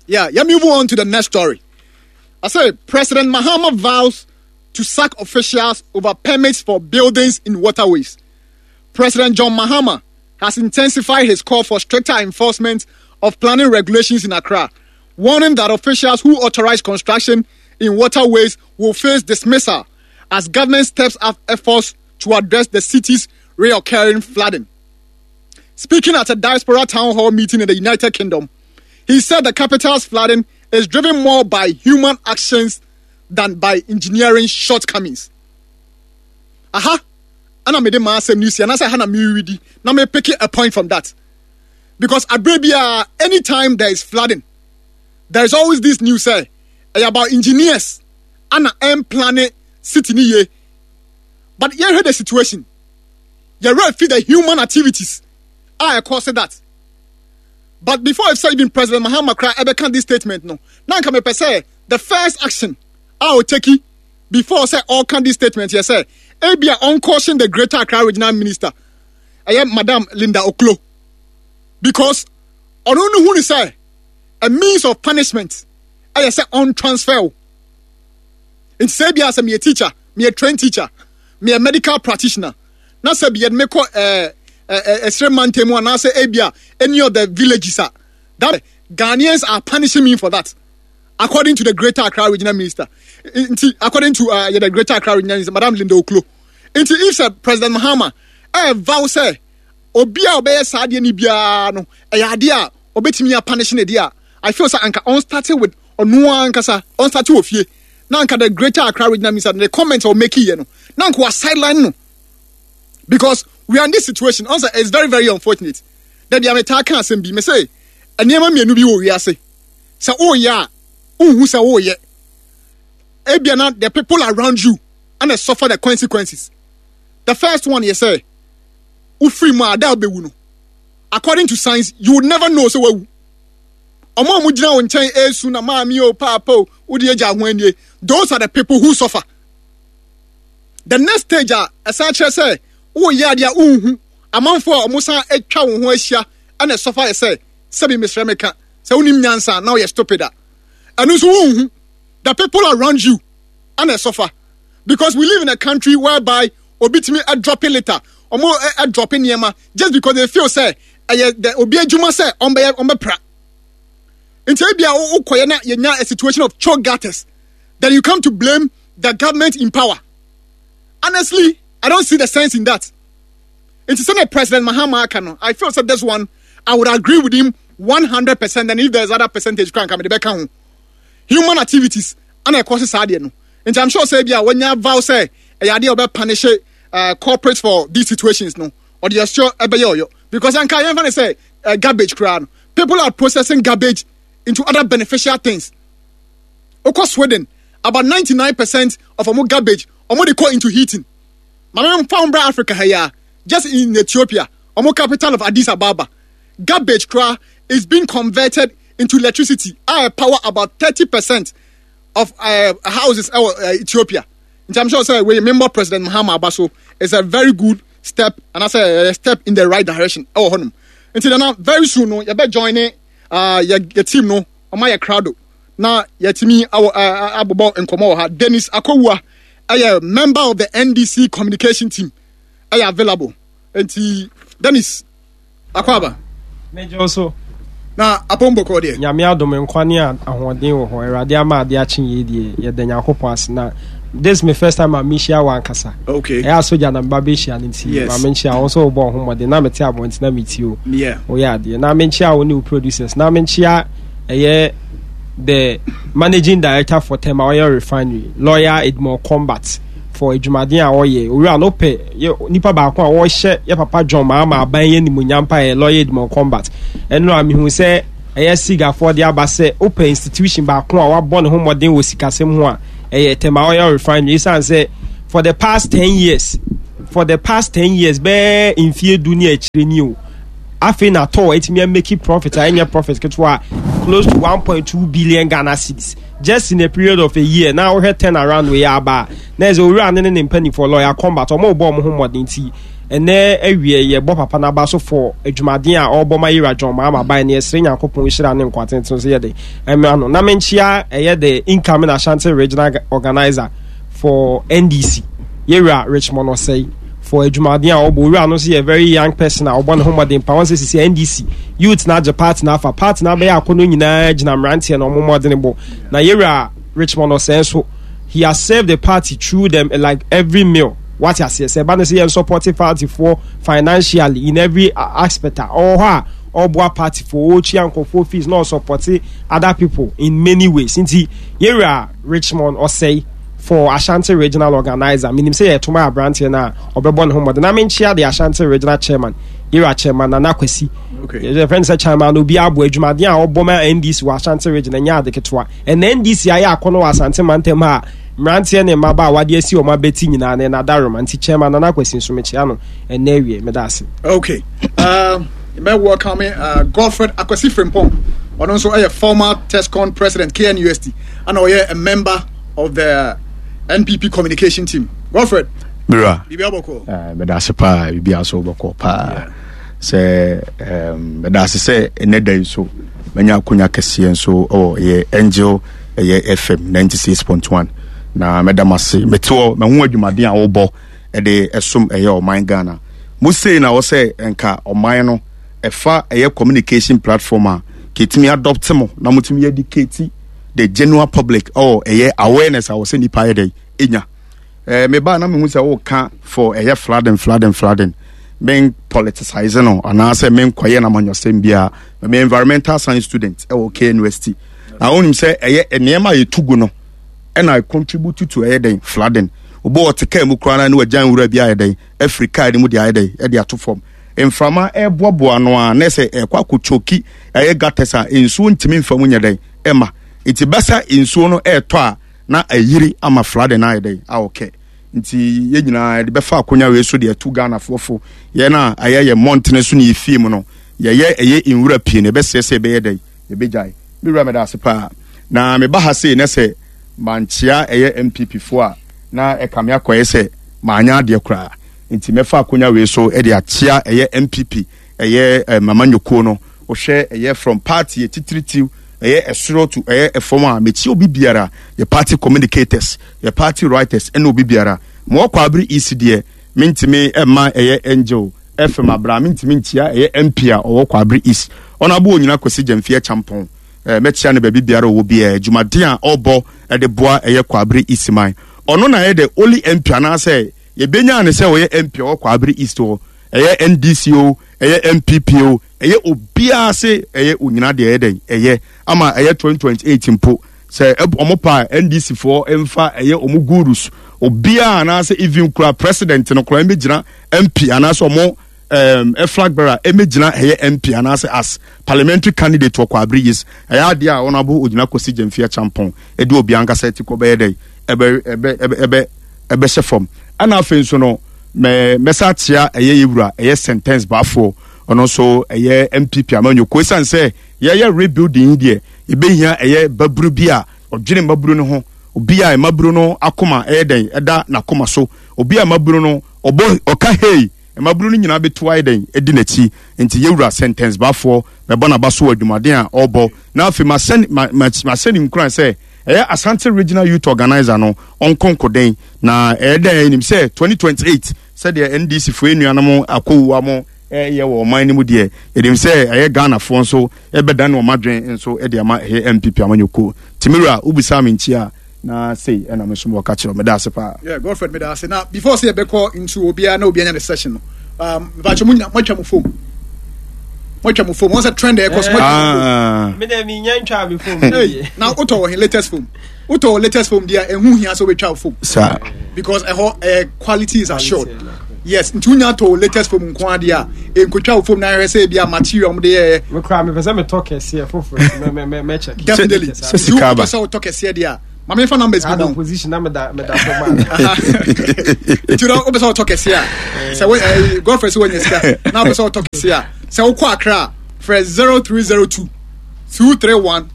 Yeah, yeah, move on to the next story. I say President Mahama vows to sack officials over permits for buildings in waterways. President John Mahama has intensified his call for stricter enforcement of planning regulations in Accra, warning that officials who authorize construction in waterways will face dismissal as government steps up efforts to address the city's reoccurring flooding. Speaking at a diaspora town hall meeting in the United Kingdom, he said the capital's flooding is driven more by human actions than by engineering shortcomings. Aha, ana mede m'asɛm no si anaasɛ ha na meredi na me pick a point from that because abere biara anytime there is flooding there is always this news sɛ ɛyɛ about engineers ana ɛmplane city ni yie but yɛhwɛ the situation yɛwerɛ fi the human activities a ɛkɔ so that but before if sɛ even President Mahama kora ɛbɛka this statement no na nka mepɛ sɛ the first action a ɔtaki before sɛ ɔka this statement yɛ sɛ ebia ɔncaution the Greater Accra Regional Minister ɛyɛ Madam Linda Ocloo because ɔno no hu ne sɛ a means of punishment ɛyɛ sɛ ɔntransfer wo. Nti sɛ ebia sɛ meyɛ teacher, meyɛ trained teacher, meyɛ medical practitioner na sɛ bi yɛde me kɔ ɛɛ ɛɛ ɛsrɛ mantam mu anaasɛ ebia any of the villages a that Ghanaians are punishing me for that according to the Greater Accra Regional Minister. Nti according to uh, the Greater Accra Regional Minister, Madam Linda Ocloo. Nti if sɛ President Mahama ɛɛ vow sɛ obi a ɔbɛyɛ saa adeɛ no biara no ɛyɛ adeɛ a ɔbɛtumi apanish ne deɛ a I feel sɛ anka ɔn start with ɔno ankasa ɔn start wɔ fie na anka the Greater Accra Regional Minister the comment a ɔmake yɛ no na anka wa sideline no because we are in this situation ɔn sɛ it's very very unfortunate dabi a metaa ka asɛm bi me sɛ nneɛma mmienu bi wɔ wiase sɛ woyɛ a wonhu sɛ woyɛ ebia na the people around you and suffer the consequences. The first one yɛ sɛ wofiri mu a ada a wobɛwu no according to science you would never know sɛ wawu. Ɔmo a wɔgyina wo nkyɛn esu na maame o paapa o wode agya ho anie those are the people who suffer. The next stage a ɛsan kyerɛ sɛ woyɛ adeɛ a wonhu amanfoɔ a wɔn san atwa wo ho ahyia ɛna suffer yɛ sɛ sɛbi mesrɛ meka sɛ wonim nyansa na woyɛ stupid a ɛno nso wonhu the people around you ɛna ɛsɔfa because we live in a country whereby obi tumi ɛdrɔpe litter ɔmo ɛdrɔpe nneɛma just because they feel sɛ ɛyɛ the obi adwuma sɛ ɔmbɛyɛ ɔmbɛpra nti ebi a wokɔyɛ na yɛnya a situation of choke gutters then you come to blame the government in power. Honestly, I don't see the sense in that. Nti sɛnea President Mahama aka no, I feel sɛ this one I would agree with him 100% and if there's other percentage koraa nka mede bɛka ho. Human activities ana ɛkɔ se saa adeɛ no. Nti I'm sure sɛ bi a wanya vow sɛ ɛyɛ adeɛ a ɔbɛ punish corporate for these situations no, ɔde ɛsɔ ɛbɛyɛ ɔyɔ. Because anka yɛmfa ne sɛ garbage koraa no, people are processing garbage into other beneficial things. Wokɔ Sweden, about 99% of ɔmo garbage ɔmo de kɔ into heating. Maame mfa wo mbra Africa ha yi a, just in Ethiopia, ɔmo capital of Addis Ababa, garbage koraa is being converted into electricity a power about 30% of houses ɛwɔ Ethiopia. Nti I'm sure sɛ wei membɔ President Mahama aba so is a very good step and anaasɛ a step in the right direction ɛwɔ hɔnom. Nti nana very soon no yɛbɛ join ne yɛ yɛ team no ɔma yɛ crowd na yɛtumi awɔ abobɔ nkɔmɔ wɔ ha. Dennis Akowua ɛyɛ member of the NDC communication team ɛyɛ available. Nti Dennis akɔ aba. Mejɔ so. Na apɔmbɔ kɔ deɛ. Nyame adom nkwa ne ahoɔden wɔ hɔ. Awurade ama ade akye yie deɛ yɛda Nyankopɔn ase na this is my first time a mehyia wɔ ankasa. Okay. Ɛyɛ asogya na meba bɛhyia no nti Yes. ma menkyia wo nso wobɔ wo ho mmɔden na mete abɔnten na metie o. Yeah. Woyɛ adeɛ na menkyia wo ne wo producers na menkyia ɛyɛ the managing director for Tema Oil Refinery lawyer Edmond Combat for adwumaden a ɔyɛ owura no pɛ yɛ nipa baako a ɔhyɛ yɛ papa John Mahama aban yɛ nimuonyam pa yɛ lawyer Edmond Combat ɛno a mehu sɛ ɛyɛ sigafoɔ de aba sɛ wopɛ institution baako a wabɔ ne ho mmɔden wɔ sikasɛm ho a ɛyɛ Tema Oil Refinery ɛsiane sɛ for the past 10 years for the past 10 years bɛɛ mfie du ne akyire ni o afei na tɔɔ atumi ameki profit a ɛnyɛ profit ketewa close to 1.2 billion Ghana cedis just in a period of a year na wohwɛ turn around wei aba a na ɛsɛ owura ne ne ne mpanimfoɔ lawyer combat ɔmo bɔ ɔmo ho mmɔden ti. Ɛnɛ awie yɛbɔ papa no aba so for adwumaden a ɔrebɔ ma Yera John Mahama bae no yɛsrɛ Nyankopɔn nhyira ne nkwa tenten so yɛde ɛmra no. Na menkyia ɛyɛ the incoming Ashanti Regional Organizer for NDC Yera Richmond Osei for adwumaden a ɔbɔ. Owura no nso yɛ very young person a ɔbɔ ne ho mmɔden pa. Wɔn sɛ sisi NDC youth na agye party na afa party na abɛyɛ akɔnɔ nyinaa gyina mmeranteɛ na wɔn mmɔden bɔ. Na Yera Richmond Osei nso he has served the party through them like every meal. Wate aseɛ? Sɛ ɛba no sɛ yɛn support party foɔ financially in every aspect a, ɔwɔ hɔ a ɔboa party foɔ, ɔtua nkurɔfoɔ fees na ɔsupport other people in many ways. Nti yɛwura Richmond Osei for Ashanti Regional Organizer, menim sɛ yɛto ma aberanteɛ no a ɔbɛbɔ ne ho mmɔden. Na menkyea the Ashanti Regional Chairman, yɛwura Chairman Nana Kwasi. Okay. Yɛfrɛ no sɛ Chairman obi aboa adwumaden a ɔbɔ ma NDC wɔ Ashanti Region ɛnyɛ ade ketewa. Ɛna NDC ayɛ akɔnɔ wɔ Asante mantam ha a mmeranteɛ ne mmabaawa de asi wɔn abati nyinaa no ɛna adaworoma nti Chairman Nana Kwasi nso mekyea no ɛnnɛ awie. Meda ase. Okay. Mɛ welcome Godfred Akwasi Frimpong. Ɔno nso ɛyɛ former TESCON president KNUST ana ɔyɛ a member of the NPP communication team. Godfred. Mira. Biribi abɔkɔ. Meda ase paa biribi aso bɔkɔ paa. Sɛ meda ase sɛ ɛnɛ da yi so manya akonya kɛseɛ nso wɔ ɛyɛ Angel ɛyɛ FM 96.1 na mɛda mo ase mete hɔ mahu adwumaden a wobɔ ɛde ɛsom ɛyɛ ɔman Ghana mo sei na wɔ sɛ nka ɔman no ɛfa ɛyɛ communication platform a kɛtumi adopt mo na motumi educate the general public ɔwɔ ɛyɛ awareness a wɔ sɛ nipa yɛ dɛ ɛnya. Eh, me ba na mehu sɛ woka for ɛyɛ flooding flooding flooding men politicize no anaasɛ menkɔyɛ no amanyɔsɛm biara me environmental science student ɛwɔ KNUST na wonim sɛ ɛyɛ nneɛma a yɛtu gu no ɛna contribute to ɛyɛ dɛn flooding obi ɔte kaa mu koraa na ne wagya nwura bi ayɛ dɛn afiri kaa no mu de ayɛ dɛn ɛde ato fam mframa ɛboaboa no a na sɛ ɛkɔ akɔtwoki ɛyɛ gutters a nsuo ntumi mfa mu nyɛ dɛn ɛma nti bɛsa nsuo no ɛɛtɔ a na ayiri ama flooding no ayɛ dɛn aɔkɛ nti yɛn nyinaa yɛde bɛfa akonya wei so de atu Ghanafoɔ fo yɛn a ɛyɛ yɛn mmɔntene so ne yɛ fie mu no yɛyɛ ɛyɛ nwura pii no yɛbɛsrɛ sɛ yɛbɛyɛ dɛn yɛbɛgyae me wura meda ase paa na meba ha sei na sɛ mankyea ɛyɛ MPP foɔ a na ɛka me akɔyɛ sɛ manyɛ adeɛ koraa nti mɛfa akonya wei so de akyea ɛyɛ MPP ɛyɛ eh, mama nyokuo no wohwɛ ɛyɛ from party yɛ ɛyɛ ɛsoro to ɛyɛ ɛfam a mekyi obi biara yɛ party communicators yɛ party writers ɛna obi biara ma ɔkɔ abiri ec deɛ mentumi ɛma ɛyɛ angel fm abira mentumi nkyia ɛyɛ mp a ɔwɔ kɔ abiri east ɔno abo onyina kwasi gyamfi ɛkyampɔn ɛɛ mɛkyia no baabi biara ɔwɔ biara adwumaden a ɔbɔ ɛde boa ɛyɛ kɔ abiri east man ɔno na ɛyɛ the only mp anaasɛ yɛbɛnya ne sɛ ɔyɛ mp a ɔwɔ kɔ abiri east hɔ ɛyɛ NDC o, ɛyɛ NPP o, ɛyɛ obiara se ɛyɛ onyina deɛ ɛyɛ dɛn ɛyɛ ama ɛyɛ 2028 mpo sɛ ɔmo pa NDC foɔ mfa ɛyɛ ɔmo gurus obiara anaasɛ even kura president no kura ɛmɛgyina MP anaasɛ ɔmo um, flag bearer ɛmɛgyina ɛyɛ MP anaasɛ as parliamentary candidate wɔ Kwabere East ɛyɛ adeɛ a wɔn abo ogyina kɔsi Gyamfi Acheampong ɛde obiara ankasa ti kɔ bɛyɛ dɛn ɛbɛ ɛbɛ ɛbɛ ɛbɛhyɛ fam ɛna afei nso no mɛ mɛsa akyea ɛyɛ yɛ wura ɛyɛ sentence baafoɔ ɔno nso ɛyɛ npp amanyɔkuo ɛsiane sɛ yɛyɛ rebuilding yi deɛ yɛbɛhia ɛyɛ baburu bi a ɔdwene mmaburu no ho obi a mmaburu no akoma ɛyɛ dɛn ɛda n'akoma so obi a mmaburu no ɔbɔ ɔka hei mmaburu no nyinaa bɛtu ayɛ dɛn ɛdi n'akyi nti yɛwura sentence baafoɔ mɛbɔ n'aba so wɔ adwumaden a ɔrebɔ na afei mahyɛ mahyɛ ne nkuran sɛ Ɛyɛ Asante Regional Youth Organiser no ɔnko nkoden na ɛyɛ dɛ yɛnim sɛ 2028 sɛdeɛ NDC foɔ nuanom akɔwua mo ɛyɛ wɔ ɔman no mu deɛ yɛnim sɛ ɛyɛ Ghanafoɔ nso ɛbɛdane wɔn adwene nso de ama ɛyɛ NPP amanyɔkuo. Timira wobisaa me nkyi a na sei ɛna me nso mewɔ ka kyerɛ meda ase paa. Yeah, Godfred meda ase. Na before sɛ yɛbɛkɔ into obiara na obiara nya ne session no mepakyɛ mo nyina moatwa mo fom moatwa mo fom wɔn sɛ trend ɛkɔ so moatwa mo fom ah. me dɛ menya ntwa me fom na wotɔ wɔ he latest fom wotɔ wɔ latest fom deɛ ɛho hia sɛ wobɛtwa wo fom saa because ɛhɔ ɛyɛ quality is assured yes nti wonya tɔ latest fom nko adeɛ a ɛnkotwa wo fom na ahwɛ sɛ ebi a material wɔde yɛɛ mekora mepɛ sɛ metɔ kɛseɛ foforɔ mɛkyɛ definitely nti wopɛ sɛ wotɔ kɛseɛ deɛ a maame nfa numbers bi ma wo position na meda meda fam a nti na wopɛ sɛ wotɔ kɛse a sɛ wo ɛɛ godfrey sɛ wanya sika na wopɛ sɛ wotɔ kɛse a sɛ wokɔ akra a frɛ 0302 231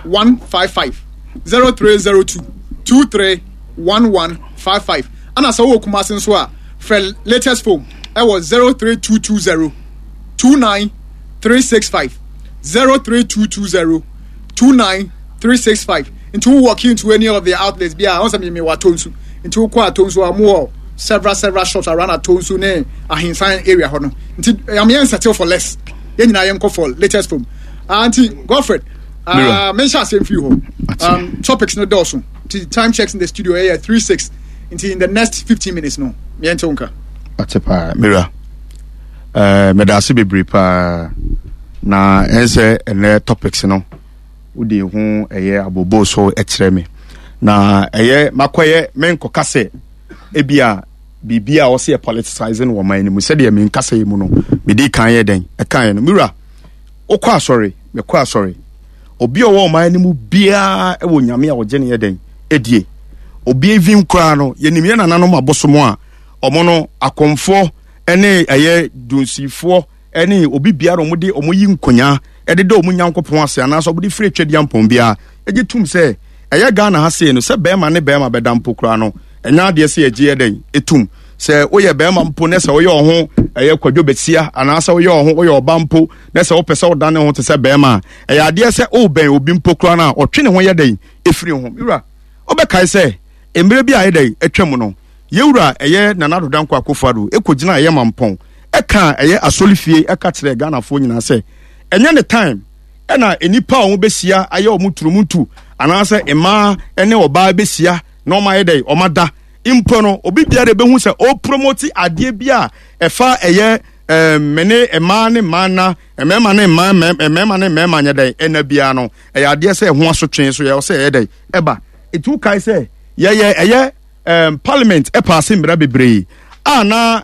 155 0302 23 1155 ana sɛ wowɔ kumase nso a frɛ latest phone. ɛwɔ 03220 29365 03220 29365. Nti wo walk into any of the outlets bi a ɔn sɛ mi mi wɔ Atonsu, nti wokɔ Atonsu a wɔn wɔ several several shops around Atonsu ne Ahinsan area hɔ no. Nti ɛyam yɛn settle for less, yɛn nyinaa yɛn kɔ for latest phone. Ah, nti Godfred, ah, menhyɛ asɛm firi hɔ. Topics no dɔɔso, nti time checks in the studio ɛyɛ 36, nti in the next 15 minutes no yɛn te wo nka. Ate paa, Mira. Meda ase bebree paa na ɛnsɛ ɛnɛ topics no wode ho ɛyɛ abobo so ɛkyerɛ me na ɛyɛ makɔyɛ menkɔka sɛ ebi a biribi a ɔsɛ yɛ politicizing wɔ man no mu sɛdeɛ menkasa yi mu no mede kan yɛ dɛn ɛkaeɛ no. Mewura, wokɔ asɔre, mekɔ asɔre, obi a ɔwɔ ɔman no mu biara wɔ nyame a ɔgye ne yɛ dɛn ɛdie. Obi even koraa no, yɛnim yɛ nananom abosom a ɔmo no akɔmfoɔ ɛne ɛyɛ dunsifoɔ ɛne obi biara ɔmo de ɔmo yi nkonyaa ɛde da ɔmo Nyankopɔn ase anaasɛ ɔmo de firi atwadeɛ mpɔn biara ɛgye tum sɛ ɛyɛ Ghana ha sei no, sɛ bɛrima ne bɛrima bɛda mpo koraa no, ɛnyɛ adeɛ sɛ yɛgye yɛ dɛn ɛtum. Sɛ woyɛ bɛrima mpo ne sɛ woyɛ ɔho ɛyɛ kwadwo bɛsia anaasɛ woyɛ ɔho woyɛ ɔba mpo ne sɛ wopɛ sɛ wodane ho te sɛ bɛrima a, ɛyɛ adeɛ sɛ wobɛn obi mpo koraa no a, ɔtwe ne ho yɛ dɛn ɛfiri ho. Wura, wobɛkae sɛ mmerɛ bi a ɛyɛ dɛn atwa mu no, yɛwura ɛyɛ Nana Addo Dankwa Akufo-Addo ɛkɔgyina ɛyɛ Mampɔn ɛka ɛyɛ asɔrefie ɛka kyerɛ Ghanafoɔ nyinaa sɛ ɛnyɛ ne time ɛna nnipa a wɔn bɛhyia ayɛ wɔn turumutu anaasɛ mmaa ne ɔbaa bɛhyia na wɔn ayɛ dɛ wɔn ada mpo no, obi biara bɛhu sɛ ɔrepromoti adeɛ bi a ɛfa ɛyɛ mene mmaa ne mmaa na mmarima ne mmaa, mmarima ne mmarima nyɛ dɛn ɛna biara no, ɛyɛ adeɛ sɛ ɛho asotwe so yɛ sɛ ɛyɛ dɛn ɛba. Etu kae sɛ yɛyɛ ɛyɛ parliament ɛpaase mmara bebree a na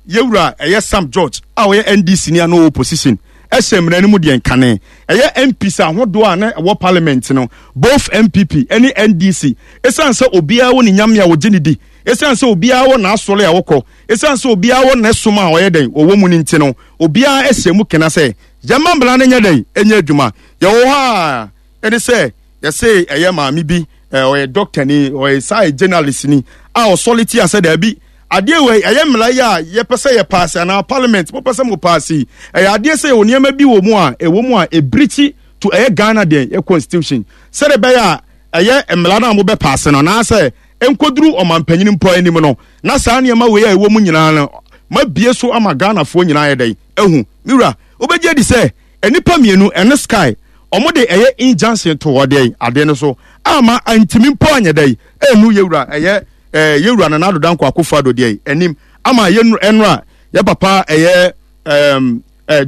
yɛwura ɛyɛ Sam George a ɔyɛ NDC ni a na ɔwɔ opposition ɛhyɛ mmara no mu deɛ nkane ɛyɛ MPs ahodoɔ a na ɛwɔ parliament no, both NPP ɛne NDC, ɛsiane sɛ obiara wɔ ne nyame a ɔgye ne di, ɛsiane sɛ obiara wɔ n'asɔre a ɔkɔ, ɛsiane sɛ obiara wɔ n'ɛsom a ɔyɛ dɛn ɔwɔ mu no nti no, obiara ɛhyɛ mu kena sɛ yɛma mmara no nyɛ dɛn ɛnyɛ adwuma. Yɛwɔ hɔ a ɛne sɛ yɛse ɛyɛ maame bi, ɔyɛ doctor ni, ɔyɛ saa journalist ni a ɔsɔle tia sɛ daabi, adeɛ wei ɛyɛ mmara yi a yɛpɛ sɛ yɛ paase anaa parliament mopɛ sɛ mo paase yi, ɛyɛ adeɛ sɛ yɛwɔ nneɛma bi wɔ mu a ɛwɔ mu a ɛbirikyi to ɛyɛ Ghana deɛ yɛ constitution, sɛde ɛbɛyɛ a ɛyɛ mmara no a mobɛ paase no anaasɛ nkɔduru ɔmampanyini mpo anim no, na saa nneɛma wei a ɛwɔ mu nyinaa no mabie so ama Ghanafoɔ nyinaa yɛ dɛn ahu. Me wura, wobɛgye adi sɛ nnipa mmienu ɛne Sky ɔmo de ɛyɛ injunction to hɔ deɛ adeɛ no so ama antimi mpo anyɛ dɛn ɛnu yɛwura ɛyɛ yɛwura Nana Addo Dankwa Akufo-Addo deɛ anim ama yɛnu ɛnora yɛ papa ɛyɛ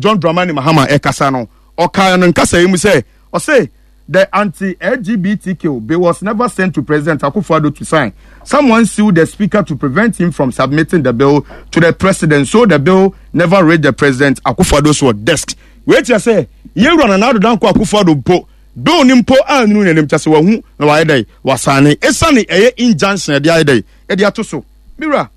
John Dramani Mahama ɛkasa no, ɔkaa no nkasa yi mu sɛ ɔse the anti-LGBTQ bill was never sent to President Akufo-Addo to sign. Someone sued the speaker to prevent him from submitting the bill to the president, so the bill never reached the president Akufo-Addo's desk. Wei kyerɛ sɛ yɛwura Nana Addo Dankwa Akufo-Addo mpo bill ni mpo annu n'anim, kyɛ sɛ wahu na wayɛ dɛ wasane esiane ɛyɛ injunction ɛde ayɛ dɛ ɛde ato so. Mewura,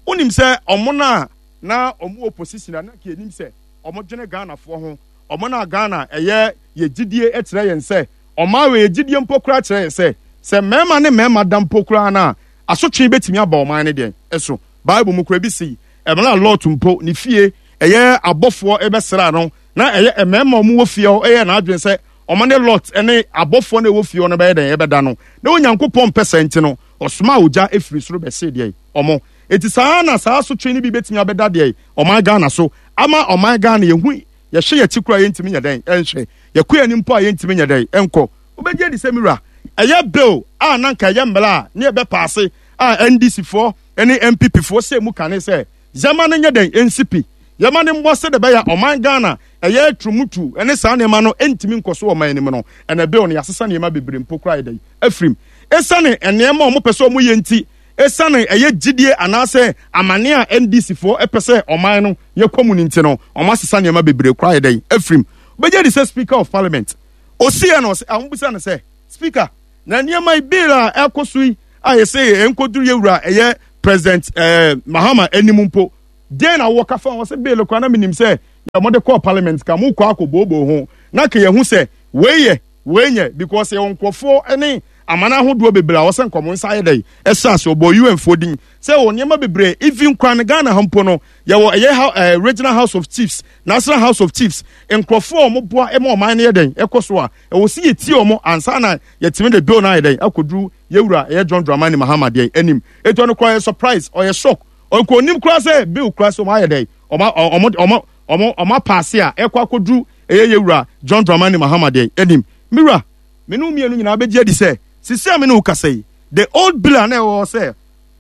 wonim sɛ ɔmo na na ɔmo opposition a na ka enim sɛ ɔmo dwene Ghanafoɔ ho, ɔmo na Ghana ɛyɛ yɛ gyidie kyerɛ yɛn sɛ ɔman wei yɛ gyidie mpo koraa kyerɛ yɛn sɛ sɛ mmarima ne mmarima da mpo koraa no a, asotwe bɛtumi aba ɔman no deɛn so. Bible mu koraa bi sei, ɛmmerɛ a Lot mpo ne fie ɛyɛ abɔfoɔ ɛbɛsraa no na ɛyɛ mmarima ɔmo wɔ fie hɔ ɛyɛ n'adwene sɛ ɔmo ne Lot ne abɔfoɔ no ɛwɔ fie hɔ no bɛyɛ dɛn ɛbɛda no, na Onyankopɔn mpɛ sɛ nti no ɔsomaa ogya ɛfiri soro bɛhyee deɛn ɔmo. Enti saa na saa asotwe no bi bɛtumi abɛda deɛn ɔman Ghana so ama ɔman Ghana yɛhu yɛhwɛ yɛn akyi koraa yɛntumi nyɛ dɛn nhwɛ, yɛkɔ yɛn anim mpo a yɛntumi nyɛ dɛn nkɔ. Wobɛgye adi sɛ me wura, ɛyɛ bill a na anka ɛyɛ mmara a ne yɛbɛpaase a NDC foɔ ne NPP foɔ hyɛɛ mu kane sɛ yɛma no nyɛ dɛn nsi pi, yɛma no mmɔ sɛdeɛ ɛbɛyɛ a ɔman Ghana ɛyɛ turumutu ne saa nneɛma no ntumi nkɔ so wɔ ɔman no mu no, ɛnɛ bill no yɛasesa nneɛma bebree mpo koraa yɛ dɛn afirim. Ɛsiane nneɛma a wɔpɛ sɛ wɔyɛ nti, Esiane ɛyɛ gyidie anaasɛ amane a NDC foɔ pɛ sɛ ɔman no yɛkɔ mu no nti no, wɔn asesa nneɛma bebree koraa ayɛ dɛn afirim. Wobɛgye adi sɛ Speaker of Parliament ɔsiiɛ no, ɔse, a wɔbisa no sɛ, Speaker, na nneɛma yi, bill a ɛkɔ so yi a yɛsɛ ɛnkɔduru yɛwura ɛyɛ President eh, Mahama anim mpo, deɛn na wowɔ ka fa ho? Ɔse bill koraa na menim sɛ yɛ mode kɔɔ parliament ka mokɔ akɔbooboo ho na ka yɛhu sɛ wei yɛ wei nyɛ because yɛwɔ nkurɔfoɔ ne. Aman ahodoɔ bebree a wɔsɛ nka wɔn nsa ayɛ dɛn ɛhyɛ ase. Ɔbɔɔ UN foɔ din sɛ wɔ nneɛma bebree, even koraa no Ghana ha mpo no yɛwɔ ɛyɛ ha Regional House of Chiefs, National House of Chiefs, nkurɔfoɔ a wɔboa ma ɔman no yɛ dɛn ɛkɔ so a ɛwɔ sɛ yɛtie wɔn ansa na yɛtumi de bill no ayɛ dɛn akɔduru yɛwura ɛyɛ John Dramani Mahama deɛ anim. Ɛti ɔno koraa ɔyɛ surprise, ɔyɛ shock, ɔnka ɔnim koraa sɛ bill koraa sɛ wɔn ayɛ dɛn wɔn wɔn wɔn wɔn wɔn apaase a ɛkɔ akɔduru ɛyɛ yɛwura John Dramani Mahama deɛ anim. Mewura, me ne wo mmienu nyinaa bɛgye adi sɛ sisi a me ne wo kasa yi, the old bill a na ɛwɔ hɔ sɛ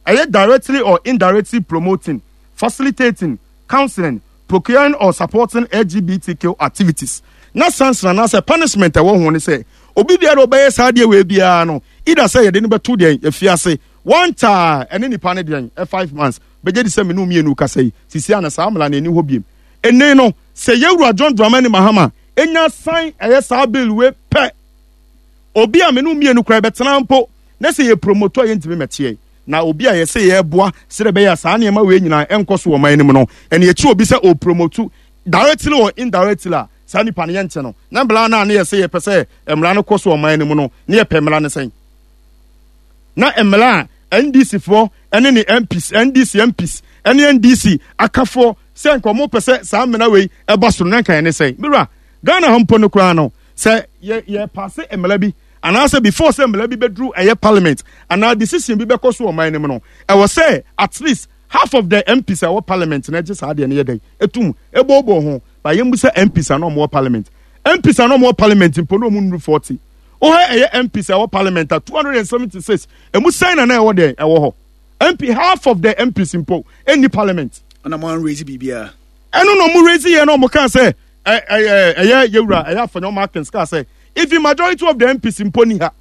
ɛyɛ directly or indirectly promoting, facilitating, counseling, procuring or supporting LGBTQ activities, na sanction anaasɛ punishment a ɛwɔ ho ne sɛ obi biara a ɔbɛyɛ saa adeɛ wei biara no, either sɛ yɛde no bɛto deɛn afiase one taa ɛne nipa no deɛn 5 months. Bɛgye di sɛ me ne wo mmienu kasa yi, sisi a na saa mmara no ɛni hɔ biem. Ɛnne no sɛ yɛwura John Dramani Mahama enya san ɛyɛ saa bill wei pɛ, obi a me ne wo mmienu koraa bɛtena mpo na sɛ yɛ promote a, yɛntumi mɛteɛ na obi a yɛsɛ yɛboa sɛdeɛ ɛbɛyɛ a saa nneɛma wei nyinaa ɛnkɔ so wɔ ɔman no mu no, ɛne akyi obi sɛ ɔpromote directly or indirectly a, saa nipa no yɛnkyɛ no. Na mmara no a ne yɛsɛ yɛpɛ sɛ mmara no kɔ so ɔman no mu no, ne yɛpɛ mmara no sɛn? Na mmara a NDC foɔ ɛne ne MPs, NDC MPs ɛne NDC akafoɔ sɛ nka ɔmo pɛ sɛ saa mmara wei ɛba so no, na nka yɛne sɛn? Mewura, Ghana ha mpo no koraa no, sɛ yɛ yɛ paase mmara bi anaasɛ before sɛ mmara bi bɛduru ɛyɛ parliament anaa decision bi bɛkɔ so ɔman no mu no, ɛwɔ sɛ at least half of the MPs a ɛwɔ parliament na ɛgye saa adeɛ no yɛ dɛn etum ebɔɔbɔ ho. Ba yɛn mu sɛ MPs a na wɔn wɔ parliament, MPs a na wɔn wɔ parliament mpo na wɔn nnuru 40. Wohɛ ɛyɛ MPs a ɛwɔ parliament a 276, emu sɛn na ɛwɔ deɛ ɛwɔ hɔ MP? Half of the MPs mpo ɛnni parliament. Ɛna mo anraise biribiara. Ɛno na ɔmo raise yɛ na ɔmo kaa sɛ ɛ ɛ ɛyɛ yɛwura ɛyɛ Afenyo Markins kaa sɛ even majority of the MPs mpo ni ha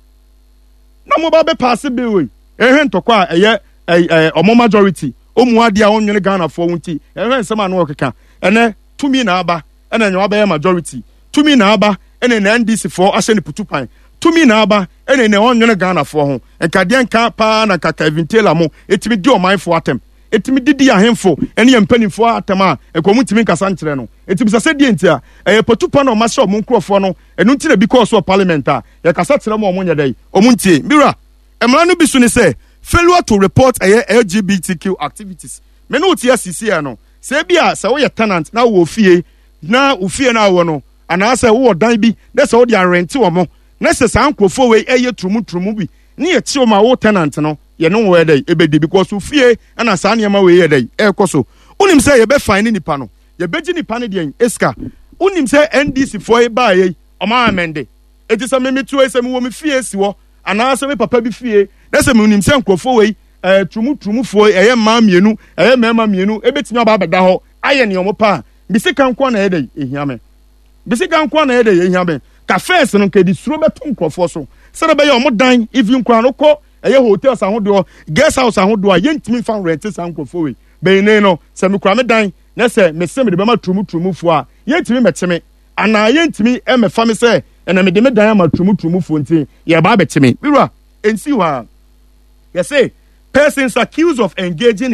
na mo ba bɛ pass bill yi. Ɛhwɛ ntɔkwa a ɛyɛ ɛ ɛ ɔmo majority ɔmu adeɛ a ɔnwene Ghanafoɔ ho nti, ɛhwɛ nsɛm a no ɔkeka. Ɛnɛ tumi na aba ɛna ɛnyɛ wabɛyɛ majority, tumi na aba ɛna na NDC foɔ ahyɛ ne putu pan, tumi na aba ɛna na ɔnwene Ghanafoɔ ho. Nkadeɛ nka paa na nka Kevin Taylor mo etumi di ɔmanfoɔ atɛm, etumi didi ahemfo ɛne yɛn mpanimfoɔ atɛm a nka ɔmo ntumi nkasa nkyerɛ no. Eti bisa sɛ deɛ nti a ɛyɛ patu pa na ɔmo ahyɛ ɔmo nkurɔfoɔ no. Ɛno nti na bi kɔɔ so wɔ parliament a yɛkasa kyerɛ mo, ɔmo nyɛ dɛ ɔmo ntie. Mira, mmara no bi so ne sɛ failure to report ɛyɛ LGBTQ activities. Me ne wo te asisi yɛ no sɛ ebi a sɛ woyɛ tenant na wowɔ fie na wo fie no a wɔ no anaasɛ wowɔ dan bi na sɛ wode arɛnte wɔ mo na sɛ saa nkurɔfoɔ wei ɛyɛ turumu turumu bi ne yɛkye wɔn a, wo tenant no yɛne wo yɛ dɛ ebedi because wo fie ɛna saa nneɛma wei yɛ dɛ ɛrekɔ so. Wonim sɛ yɛbɛfan ne nipa no, yɛbɛgye nipa no deɛn esika. Wonim sɛ NDC foɔ yi baa yɛ ɔmo amende eti sɛ meme tuo yi sɛ mewɔ me fie si hɔ anaasɛ me papa bi fie na sɛ menim sɛ nkurɔfoɔ wei turumu turumufoɔ, ɛyɛ mmaa mmienu, ɛyɛ mmarima mmienu, ebetumi aba abɛda hɔ ayɛ nea ɔmo pa a, bisi ka nko na ɛyɛ dɛ ehia me, bisi ka nko na ɛyɛ dɛ ehia me. Ka first no nka edi suro bɛto nkurɔfoɔ so sɛdeɛ ɛbɛyɛ ɔmo dan, even koraa no kɔ ɛyɛ hotels ahodoɔ, guest house ahodoɔ a yɛntumi nfa rent saa nkurɔfoɔ wei bɛyi ne no. Sɛ mekura me dan na sɛ mese mede bɛma turumu turumufoɔ a, yɛntumi mɛkye me anaa yɛntumi mɛfa me sɛ ɛna mede me dan ama turumu turumufoɔ nti yɛba abɛkye me. Wura, nsi hɔ a yɛsɛ persons accused of engaging in